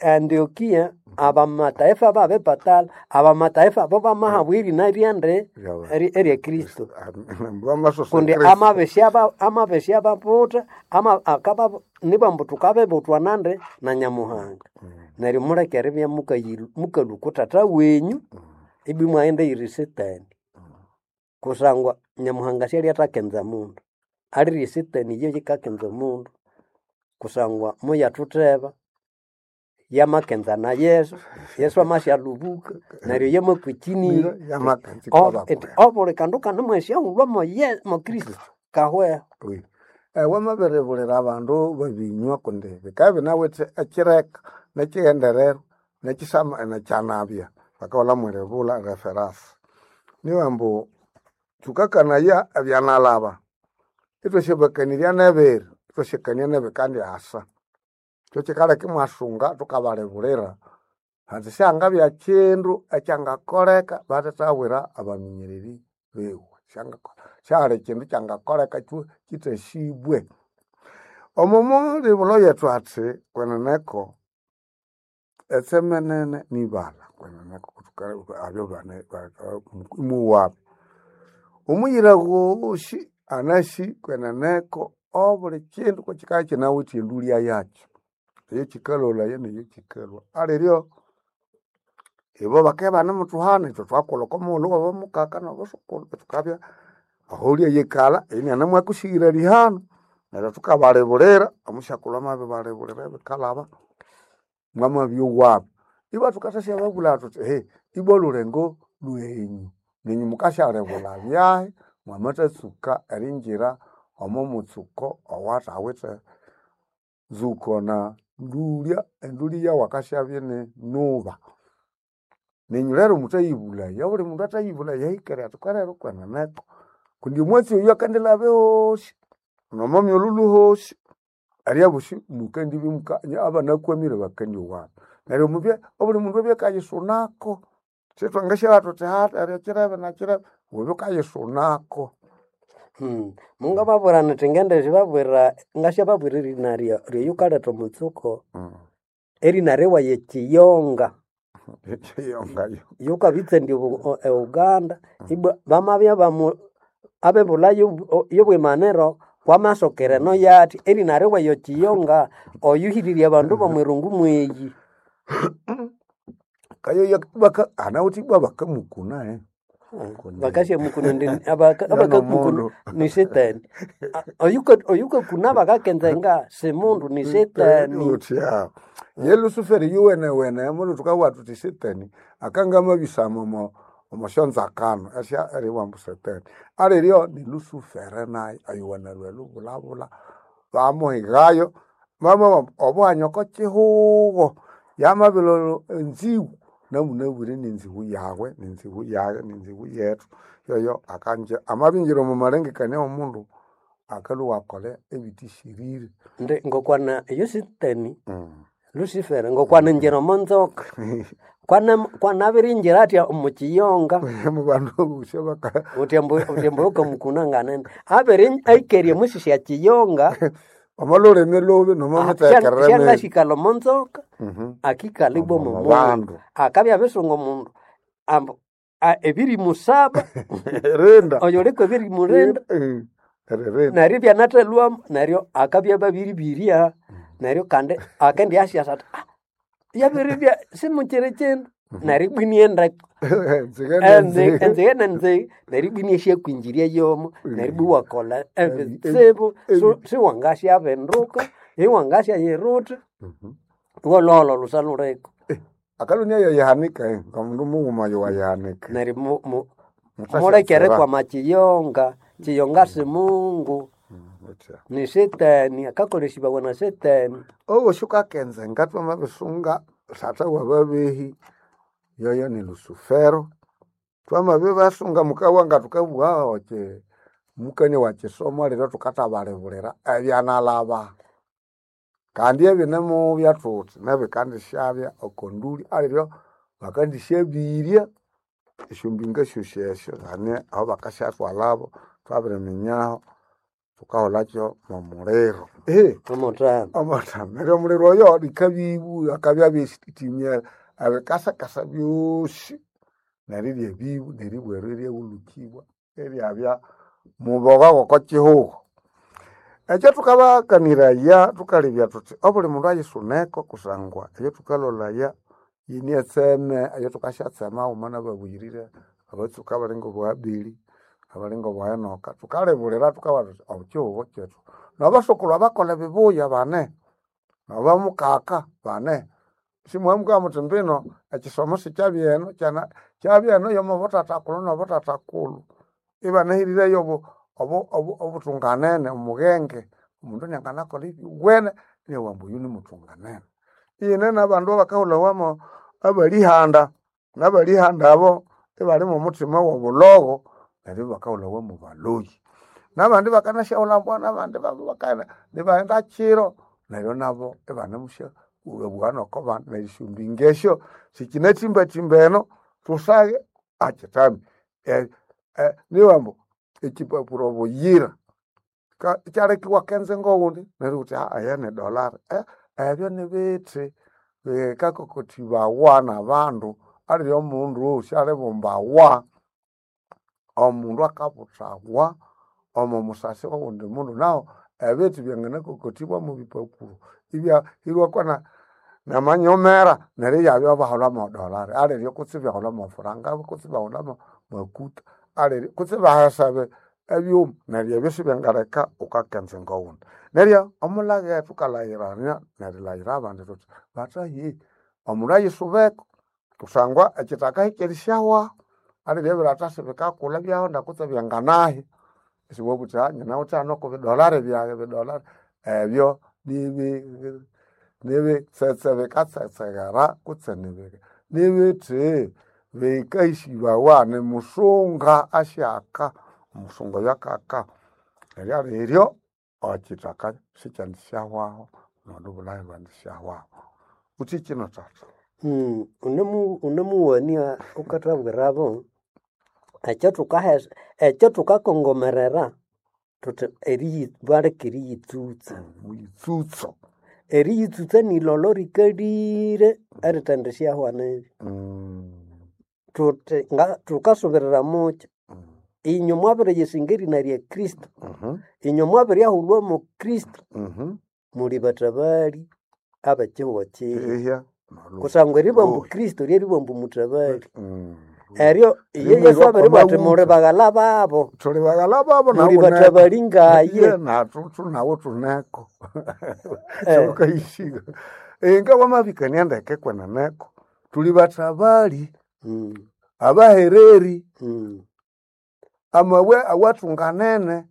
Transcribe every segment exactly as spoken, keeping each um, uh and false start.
Antioquia abamataifa babepatala abamataifa bo bamahabwa erina ryande eri- erya Kristo bamasosa kundi Kristo. amabesya ba- amabesya babuta ama akaba nibambu tukabebutwa nande na Nyamuhanga neryo muleke eribya mukayiru- mukalwa tata wenyu ibwi mwaghenda eyiri Setani kusangwa Nyamuhanga syalyathakenza mundu alirye Setani iyo yikakenza omundu kusangwa muyathutheba yamakenza na Yesu Yesu amasyalubuka neryo yamakwikiniya Yamakenza O- ikabakwe. eti obuli kandu kanemwesyaghulwa mo Ye- mo Kristo kahweho Oui. Eh, wamabiribulira abandu babinywa kundi bikabya binawithe ekireka nekighendererwa nekisama nekyanabya bakaghulha mwiribulha reference niyo ambu thukakanaya ebyanalaba ithwasyabakanirya nebiri ithwasyakania nebikandyasa kyo kyikaleka imwasunga thukabalibulira handi syangabya kyindu ekyangakoleka bathathabwira abaminyereri biwe Syangako- syali kyindu kyangakoleka kyu kyithasibwe omo mulibulho yethu athi kweneneko etseme nene nibalha kweneneko thuka- abyo bane imuwabi omuyira ghosi anasi kweneneko obuli kyindu kukyikabya kyinawithe endulya yakyo eyekyikalholaya neyekyikalhwa aliryo ibo bakabya ibanemutuhana ithwe thwakolha oko mughulhu wabamukaka nabasukulhu ithukabya aholya yikalha inianemwakusighira lihano neryo thukabalibulira omusyakulhu amabibalibulira ebikalhaba mwamabyowabu ibwa thukathasya thuthi ehe ibwa olulengo lwenyu nenyu mukasyalibulha byahi mwamathatsuka eringira omo mutsuko owathawithe nzuko na ndulya endulya yawakasyabya ini nuba nenyu lero muthayibulaya obuli mundu athayibulaya ahikere athi kwerero kweneneko kundi omwatsi oyu akandilhaba ehosi nomo myolhulo hosi eryabosi mukandibya muka abanakwamire bakandyowabu neryo mubye obuli mundu abye akayisunako sithwangasyabugha thuthi ha eryo kirebe nakirebe wubye wukayisunako Hmm. Mungababwira nithi ngendisibabwira ngasyababwira erina rya- ryeyukaletha omutsuko erina riwaye Kiyonga Kiyongayo yukabitsandya obu- o- e Uganda ibwa bamabya bamu abebulha yobwimaniro kwamasokera eno yathi erina riwaye Kiyonga oyuhirire abandu bomwirungu mweyi kayo baka anawuthi ibwa bakamukuna eh Kundi- bakasya ndi abakakukuna Yonomundu. ni setani A- oyuka- oyukakuna bakakenzenga simundu ni setani utya ye lusuferi yuwenewene mulu tukabugha thuthi setani akangamabisama omo omosyonzakano esya eriwambu setani aliryo ni lusufere nayo ayuwenelwe lubulabula bamuhigayo mama obuhanya oko kihugho yamabilolwa enzigu namunabwire nenzigu yawe nenzigu yawe nenzigu yethu yoyo akanje amabingira omu malengekania womundu akalhwa akolha ebithishirire ndi ngokwana eyo setani Mm. Lucifer ngokwana njira omonzoka kwana kwanabirinjira atya omukiyonga mu bandu obusya baka utyambu utyambu ukamukuna nganene abiri aikerie musisya kiyonga omo lulimi lubi nomo mitekerere mibi syangasikala omonzoka Mhm. akikala ibwa Omo omu bandu. mundu akabya abisunga omundu ambu a- ebiri musaba rinda oyo liko ebiri murinda Eh, eririnda neryo ibyanathalhwamu neryo akabya babiribirya neryo kandi akendiasyasa ati "Ah, yabiribya simukyiri kindu neryo ibwinie ndeko nzige nenzige enzige nenzige neryo ibwinie syakwinjirya yomo neryo ibwi wakolha ebitsibu su- siwangasyabinduka iwangasyayiruta iwalhwalha olusa lhuliko akalunia yayihanika eh, ngamundu mughuma yowayihanika neryo mu- mu- Muthasyatsira. mulekere kwama kiyonga kiyonga simungu ni setani akakolesibawa na setani owosi ukakenzenga twamabisunga tata wababehi yoyo ni lusufero twamabibasunga mukabugha nga tukabugha oki mukania wa kisomo lero tukathabalibulira ebyanalaba kandi ebinemubya thuthi nebikandisyabya okonduli aliryo bakandisyabirya esyombinga syosi esyo hane aho bakasyathwalabo twabiriminyaho Thukaholakyo mw'omuliro. Ehe, Omotano. omotano. Neryo omuliro oyo likabibu akabya abisitimya ebikasakasa byosi neryo eryebibu neribweru eryahulukibwa eryabya muboga g'oko kihugho. Ekyo thukabakaniraya thukalebya thuthi obuli mundu ayisuneko kusangwa eyo thukalolaya yine etseme eyo thukasyatsema haghuma nababuyirire abatsuka abali ng'obo Abeli, abali ng'obo Enoka, thukalebulira thukabugha thuthi ekihugho kyethu nabasokulhu abakolha ebibuya bane, nabamukaka bane. Simwamubwira muthi mbino ekisomo sikyabya eno kyana kyabya eno y'omubuthathakulhu n'obuthathakulhu. Ibanahirireyo obu- obu- obu- obuthunganene omughenge, omundu inianganakolha ebyuwene inabugha ambu oyu nimuthunganene. Iyine n'abandu abakahulhawamo abalihanda, n'abalihanda abo ibali mw'omuthima w'obulhogo neryo ibakahulhawa mw'obaloyi. N'abandi bakanasyahulha n'abandi bakaghenda ibaghenda kiro neryo nabo ibanemusya bwabugha n'oko bandi neryo esyombinga esyo sikinatsimbatimba eno thusaghe akithami. Nibugha ambu ekyipapuro buyira ka- ikyaleka iwakenza ng'owundi neryo wuthi aya ni dollar, ebyo nibithi bikakokothibawa n'abandu alire omundu syalibumbawa, omundu akabuthawa omo musasi w'owundi mundu nahu ebithi byanganakokothibwa mwa bipapuro ibyahirwako na namanyomera neryo ibyabya baholha mwa dollar alire kutse ibaholha mwa franga kutse ibaholha mwa makuta alire kutse ibahesa ebi- ebyuma neryo ebyo sibyangaleka wukakenza ng'owundi. Neryo omulage thukalayirania nerilayira abandi thuthi bathahi omundu ayisubeko kusangwa ekyithaka hikyerisyahwahu alire ebiratha sibikakulha ibyahonda kutse byanganahi isiwabugha wuthi nyinawithe hano kw'ebidolari byaghe ebidolari ebyo nibi nibitsetse bikatsetsegera kutse nibi nibithi bikahisibwawa nimusunga asyaka, omusunga oyo akaka neryo aliryo ekyithaka sikyandisyahwahu nolubulhayi lwandisyahwahu. Wuthi kino thatha? Mm, unemu unemuwania wukathabwirabo ekyo thukahesa ekyo thukakongomerera thuthi eriyi baleke eriyitsutsa. Muyitsutso. Eriyitsutsa nilolo rikalire erithendisyahu nibi. Thuthi nga thukasubirira mukyi inywe mwabiriyisinga erina lya Kristo, inywe mwabiryahulhwa mwa Kristo, muli bathabali ab'ekihugho kino. Ihya Kusangwa eribugha ambu Luhi. Kristo lyeribugha ambu muthabali. Mm. Eryo iye Yesu Rimwirwa abiribugha athi muli kwamawutha. baghala babo, Thuli baghala babo muli nawu neko. bathabali ngaye. Iye nathu thunawu thuneko. Eh, Thukayishiga. Inga wamabikania ndeke kweneneko. Thuli bathabali mm, abahereri mm, amabwe awathunganene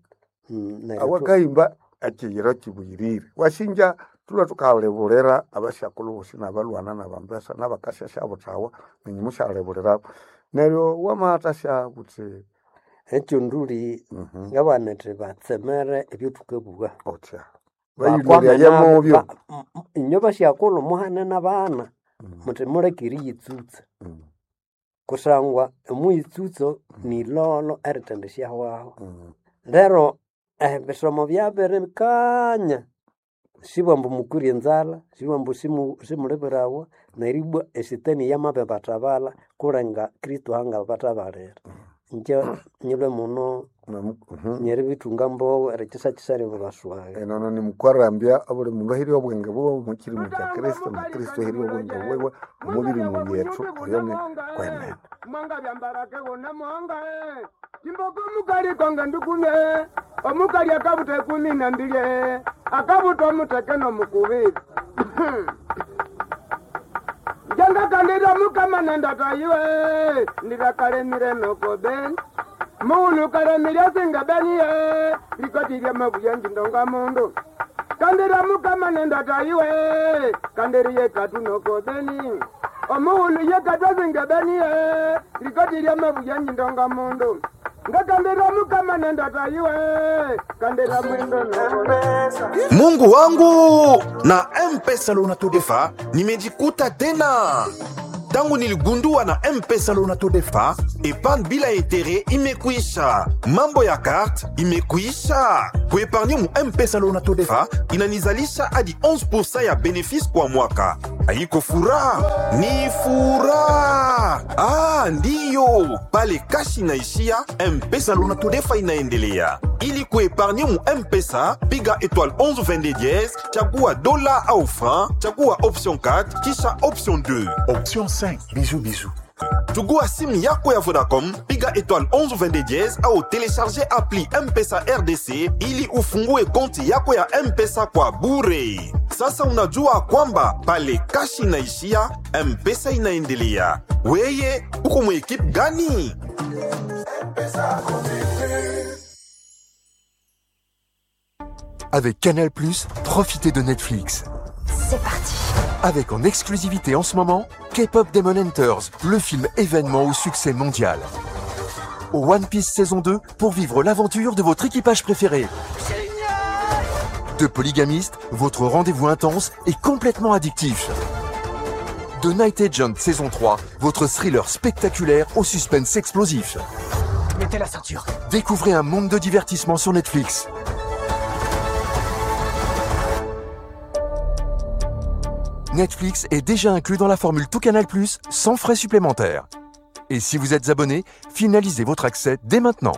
mm, neryo thu- awakahimba ekiyiro kibuyirire. Wasinja thulwe thukalibulira abasyakulhu bosi nabalhwana nabambesa nabakasyasya buthawa nenyu musyalibulirabo. Neryo wamathasya buthi ekyo nduli mhm, ngabana indi batsemere ebyothukabugha. otya Bakwame bayilolyaye nabo mubyo. ba- m- m- inywe basyakulhu muhane n'abana Mm, muthi muleke eriyitsutsa mm, kusangwa omuyitsutso nilolo erithendisyahwahu. mm. Lero ebisomo byabirikanya sibwa ambu mukwire enzalha, sibwa ambu simu simulibirawa neribwa esitani yamabibathabalha kulenga Kristo angabathabalira. Ingye nyilwe muno Namu- mhm. nyeribithunga mbogho erikyisakisa eribibaswagha. Enono nimukwarambya obuli mundu ahirye obwenge bwiwe omu kirimo kya Kristo na Kristo ahirye obwenge bwiwe omu birimo byethu oyo ni kwenene. Mwanga byambarake wona mwanga eh. Kimboko mukali konga ndukume omukali akabuta ekumi na mbili eh. Akabuta omuteke nomukubi njenga kandira mukama nendatayiwe ndirakalemire nokobe muulu kalemire singa beniye likoti lya mabuya njindonga mundu kandira mukama nendatayiwe kandiriye katu nokobeni omuulu ye katu asinga beniye likoti lya mabuya njindonga mundu ngakandira mukama nendatayiwe kandira mwindo nokobe Mungu wangu na M-Pesa Lona Todefa nimejikuta tena. Tangu niligundua na M-Pesa Loan Todefa, épargne bila intérêt imekuisha. Mambo ya carte imekuisha. Kuépargner mu M-Pesa Loan Todefa inanizalisha hadi onze pour cent ya bénéfice kwa mwaka. Haiko furaha, ni furaha. Ah, ndiyo, pale kashi inaishia, M-Pesa Loan Todefa inaendelea. Ili kuépargner mu M-Pesa, piga étoile onze vingt-deux dièse, chagua dola au franc, chagua option quatre, kisha option deux. Option cinq. Bisous, bisous. Chugua simu yako ya Vodacom, piga étoile onze vingt-deux dièse au télécharger appli M-Pesa R D C ili ufungue konti yako ya M-Pesa kwa bure. Sasa unajua kwamba pale kashi inaishia, M-Pesa inaendelea. Weye, uko mu équipe gani? Avec Canal plus, profitez de Netflix. C'est parti. Avec en exclusivité en ce moment, K-pop Demon Hunters, le film événement au succès mondial. Au One Piece saison deux pour vivre l'aventure de votre équipage préféré. The Polygamist, votre rendez-vous intense et complètement addictif. The Night Agent saison trois, votre thriller spectaculaire au suspense explosif. Mettez la ceinture. Découvrez un monde de divertissement sur Netflix. Netflix est déjà inclus dans la formule Tout Canal plus sans frais supplémentaires. Et si vous êtes abonné, finalisez votre accès dès maintenant.